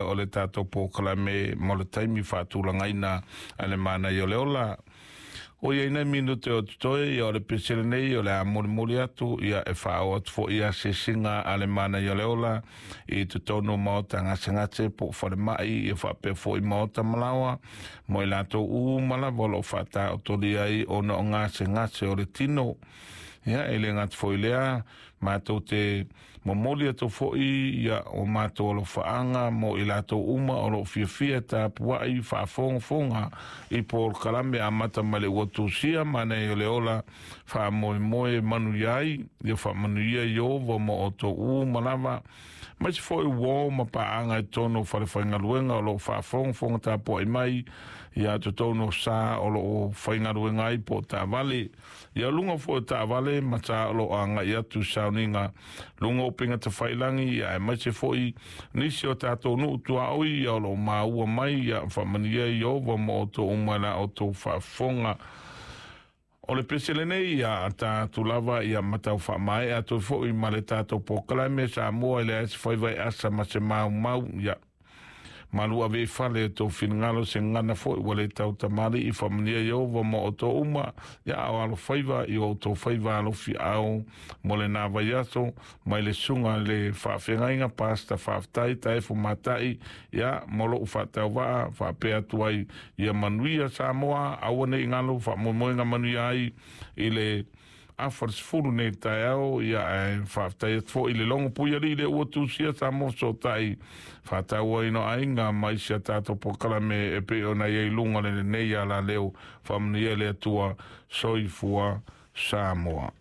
O le tatou polokalame mo le taimi faatulagaina a le Manaia o le Ola. O ia ina minute o totoe ia o le pese lenei o le a molimoli atu ia e faaoo atu foi ia asiasiga a le Manaia o le Ola i totonu o maota gasegase po o falemai ia faapea foi maota malaoa mo i latou uma lava o lo o faataotolia ai ona o gasegase o le tino. Ia e le gata foi i lea, matou te momoli atu foi ia o matou alofaaga mo i latou uma o lo o fiafia tapuai faafogafoga i polokalame amata mai le ua tusia Manaia o le Ola faamoemoe manuia ai ia faamanuia Ieova mo outou uma lava aemaise foi uo ma paaga i totonu o falefaigaluega o lo o faafogafoga tapuai mai ia totonu o sa o lo o faigaluega ai po o taavale. Ia luga foi o taavale ma sa o lo o agai atu i sauniga luga o upega tafailagi ia aemaise foi nisi o tatou nuu tuaoi ia o lo o maua mai ia faamanuia Ieova ma outou uma i la outou faafofoga. O le pese lenei ia tatou lava ia ma tau faamaea atu foi ma le tatou polokalame Samoa e leai se faiva e asa ma se maumau ia malu ave i fale o tou finagalo se gagana foi ua le tau tamalii faamanuia Ieova ma outou uma ia a o alofaiva i o outou faiva alofiaao mo lena vaiaso mai le susuga i le faafeagaiga Pastor Faafetai Taefu Matai ia mo lou faatauvaa faapea atu ai ia manuia Samoa aua nei galo faamoemoega manuia ai i le afa le 10 nei taeao ia ae faafetai atu foi i le logo puialii le ua tusia Samoa fesootai faatauaina o aiga ma isi a tatou polokalame e pei ona i ai i luga o lenei alaleo faamanuia le Atua. Soifua Samoa.